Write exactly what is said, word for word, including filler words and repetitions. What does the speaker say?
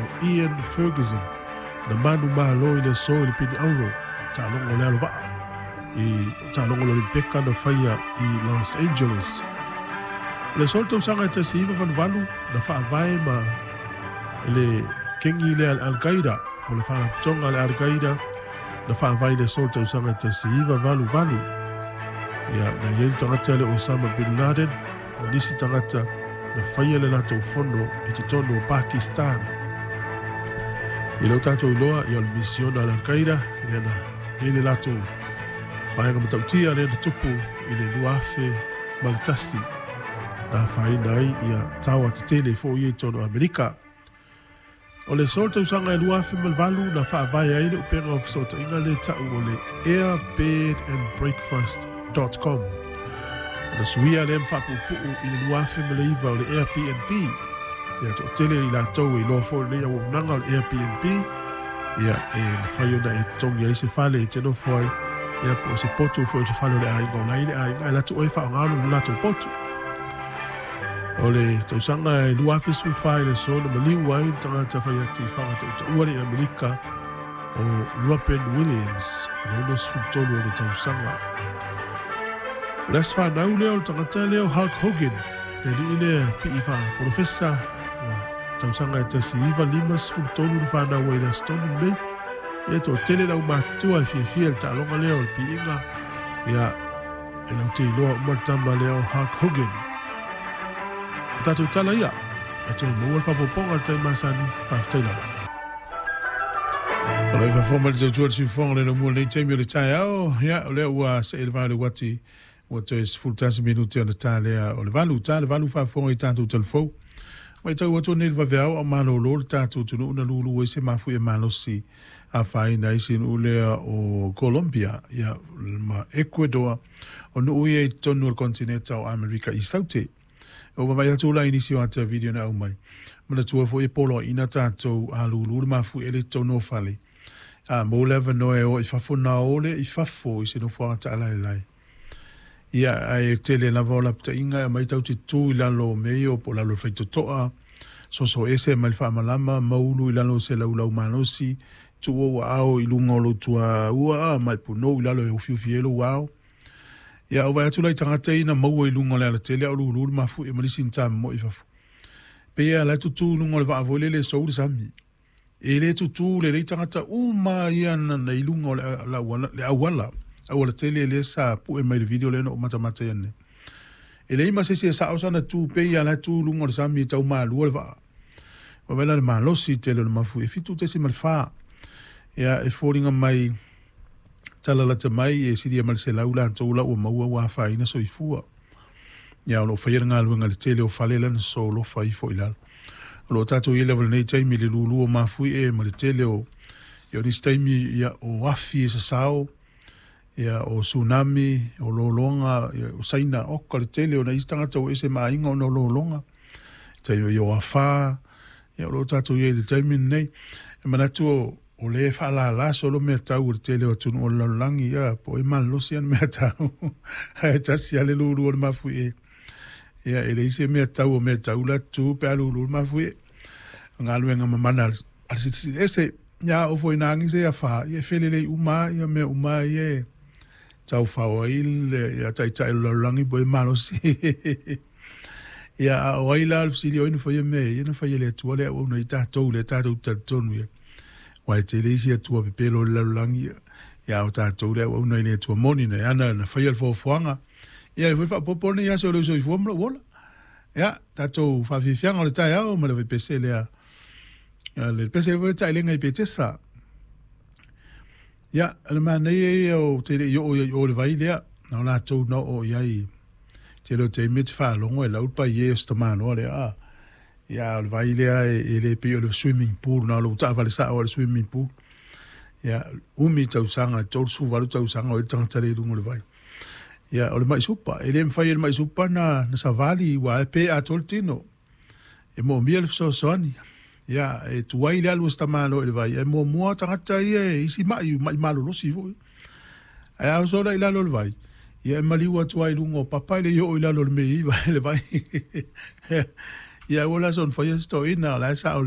o Ian Ferguson na manumalo i le aso i le pine auro taaloga o le alova'a i taaloga o le Olimpeka na faia i Los Angeles. O le aso le tausaga e tasi iva valu valu na faavae ma le kengi lea le Al-Qaeda po le faalapotoga le Al-Qaeda na faavae i le aso le tausaga e tasi iva valu valu. Ia na iai le tagata le Osama Bin Laden ma nisi tagata na faia le latou fono i totonu o Pakistan. I lau tatou iloa ia o le misiona a le Al-Qaeda lea na iai le latou vaega matautia lea na tupu i le lua afe ma le tasi na afaina ai ia taoa tetele foʻi ia i totonu o Amerika. O le aso le tausaga e lua afe ma le valu na faavae ai le upega o fesootaiga le ta'u o le airbed and breakfast dot com. O le suia lea ma faapuupuu i le lua afe ma le iva o le Airbnb. Ia toʻatele i latou e iloa foʻi lenei auaunaga o le Airbnb ia e mafai ona e totogi ai se fale e te nofo ai ia po o se potu foʻi o se fale o le aiga o lai le aiga e latou oe faaaogā lo latou potu. O le tausaga e lua afe sefulufa i le aso na maliu ai le tagata faiati faagatautaua le i Amerika o Robin Williams i le ono sefulu tolu o le tausaga. O le aso fanau lea o le tagata lea o Hulk Hogan, le alii lea pii faapolofesa ua tausaga e tasi iva lima sefulu tolu na fanau ai i le aso tonu lenei. Ia toatele le aumatutua e fiafia i le taaloga lea o le piiga ia e laute iloa uma le tama lea o Hulk Hogan. O tatou tala ia e toe maua le faaopoopoga o le taimi masani. Faafetai lava. O le faafofoga mai le tautua le siufofoga le laumua lenei taimi o le taeao. Ia, o lea ua see le va o le uati ua toe sefulu tasi minute ona ta lea o le valu. Ta le valu faafofoga i tatou talafou. Matau atu nei le vaveao a malōlō le tatou atunuu na lūlū ai se mafuie malosi afaina ai se nuu lea o Colombia ia ma Ecuador o nuu ia i totonu o le kontineta o Amerika i Saute. Ua vaavaai atu la i nisi o ata video na aumai. Manatua foi e poloaiina tatou a lūlū le mafuie le i totonu o fale. A maua le avanoa e o i fafo na o lea i fafo i se nofoaga taalaelae. Ia, ae tele lava o lapataiga e aumai tatou te tu i lalo o mea ia po o lalo o le faitotoa, soso ese mai le faamalama, maulu i lalo o se laulau malosi, tuu ou aao i luga o lou tuaua ma e punou i lalo e ufiufi ai lou ao. Ia, ou vaai atu la i tagata ia na maua i luga o le alatele a o lulu le mafuie ma nisi na tamomoe i fafo. Pei lava la e tutū i luga o le vaa foi lele e sou le sami. E le tutū lelei tagata uma ia na i luga o le auala, auala tele lea sa pue mai le video lea na ou matamata ai nei. E leai ma se isi e sao sana tu pei lava la e tu i luga o le sami e tau malua le vaa. Ua vaai la le malosi tele o le mafuie e fitu tesima le fa. Ia e foliga mai tala lata mai e silia ma le selau latou la ua maua ua afaina soifua. Ia o lo o faia le galuega i le tele o fale la na solofa ifo i lalo. O lo o tatou i ai lava i lenei taimi i le lulu o mafuie ma le tele o ia o nisi taimi ia o afi e sasao ia o tsunami, o lologa, ia o Saina, oka le tele o nai isi tagata ua ese ma aiga ona o lologa, taimi ia o afa, ia o lo o tatou i ai i le taimi lenei. E manatu o, o lea e faalala solo mea tau o le tele o atunuu o le lalolagi, ia po o ai malolosi ana mea tau, ae tasi lava le lulu o le mafuie. Ia e leai se mea tau o mea tau la tu pe a lulu le mafuie. O galuega mamana a le Silisili Ese, ia a oo foi ina agi se afa, ia e felelei uma lava ia mea uma ia e taufao ai le ia taitai o le lalolagi po o ai malosi. Ia a o ai la le fesili o ai na faia mea ia, na faia e le Atua le auauna ai tatou lea tatou te talitonu i ai. Aua e tele isi atua pepelo o le lalolagi, ia a o tatou le auauna i le Atua moni na ana na faia le foafoaga. Ia e foi faaopoopo lenei aso i lou soifua ma lou ola. Ia, tatou faafiafiaga o le taeao ma le vaipese lea. Le pese foi le taelega i Petesa. Ia, o le manaia ia ou te le i oo i o i le vai lea, na o latou na oo i ai. Tele o taimi e te faalogo e lau le paie o se tamaloa lea, a. Ia, a o le vai lea e, e le pei o le swimming pool, na o lou taavale sao lava i le swimming pool. Ia, umi tausaga, tolu sefulu valu tausaga o i ai le tagata lea i luga o le vai. Ia, o le mai supa, e le mafai e le mai supa na, na savali, ua e pe atoa le tino. E moomia le fesoasoani. Ia, e tuai le alu a si tamaloa i le vai, ae muamua tagata ia e isi mai, mai malolosi foi. Ae a oso la i lalo o le vai, ia e maliu atu lava i luga o papa e le i oo i lalo o le mea i vai le vai. Ia, aua la soona faia se toeaina, o la e sao.